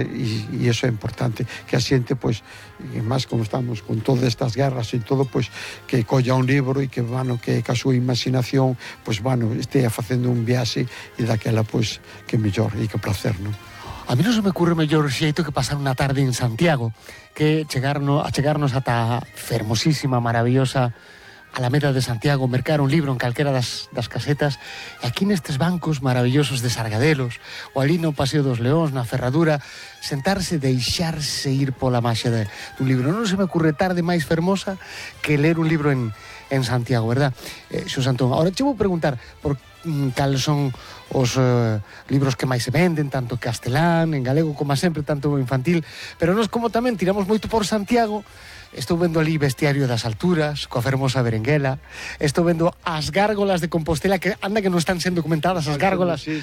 E iso é importante, que a xente, pois, e máis como estamos con todas estas guerras e todo, pois, que colla un libro e que, bueno, que a súa imaginación, pois, bueno, estea facendo un viaxe e daquela, pois, que mellor e que placer, non? A mí non se me ocurre mellor xeito que pasar unha tarde en Santiago, que chegarnos ata a fermosísima, maravillosa Alameda de Santiago, mercar un libro en calquera das casetas, e aquí nestes bancos maravillosos de Sargadelos, ou ali no Paseo dos Leóns, na Ferradura, sentarse, deixarse ir pola maxia dun libro. Non se me ocurre tarde máis fermosa que ler un libro en Santiago, verdad? Xos Antón, ahora che vou preguntar por cales son os libros que máis se venden, tanto castelán, en galego, como sempre, tanto infantil, pero nós como tamén tiramos moito por Santiago. Estou vendo ali Bestiario das Alturas, coa fermosa Berenguela. Estou vendo as gárgolas de Compostela, que anda que non están sendo documentadas as gárgolas. Sí.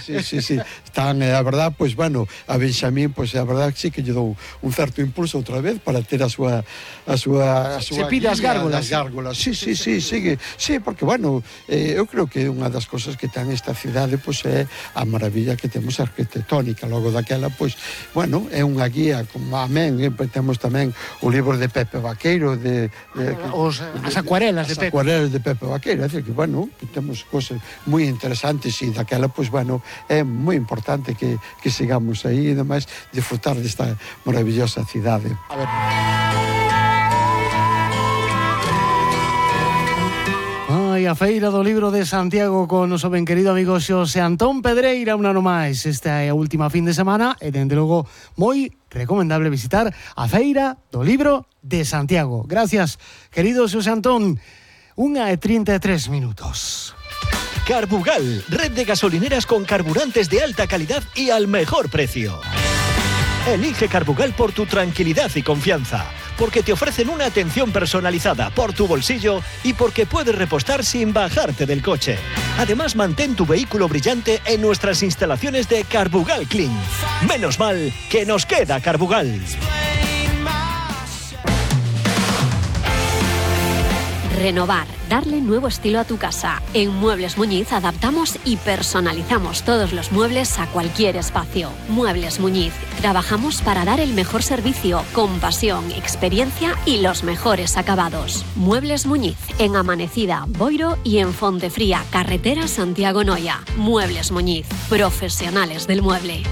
Están, a verdad, pois, bueno, a Benxamín, pois, a verdad, sí que lle dou un certo impulso outra vez para ter a súa Se pide as gárgolas. Sí, sigue. Sí, porque, bueno, eu creo que unha das cosas que ten esta cidade, pois, é a maravilla que temos arquitectónica. Logo daquela, pois, bueno, é unha guía, como amén, temos tamén o libro de Pepe Vaqueiro, as acuarelas de Pepe. As acuarelas de Pepe Vaqueiro, é dicir que, bueno, que temos cosas moi interesantes e daquela, pois, bueno, é moi importante que sigamos aí e demais disfrutar desta maravillosa cidade. A ver. A Feira do Libro de Santiago con noso ben querido amigo Xosé Antón Pedreira un ano máis. Esta é a última fin de semana e, dende logo, moi recomendable visitar a Feira do Libro de Santiago. Gracias, querido Xosé Antón. 1:33 minutos. Carbugal, red de gasolineras con carburantes de alta calidad y al mejor precio. Elige Carbugal por tu tranquilidad y confianza, porque te ofrecen una atención personalizada por tu bolsillo y porque puedes repostar sin bajarte del coche. Además, mantén tu vehículo brillante en nuestras instalaciones de Carbugal Clean. Menos mal que nos queda Carbugal. Renovar, darle nuevo estilo a tu casa. En Muebles Muñiz adaptamos y personalizamos todos los muebles a cualquier espacio. Muebles Muñiz, trabajamos para dar el mejor servicio, con pasión, experiencia y los mejores acabados. Muebles Muñiz, en Amanecida, Boiro y en Fontefría, carretera Santiago Noia. Muebles Muñiz, profesionales del mueble.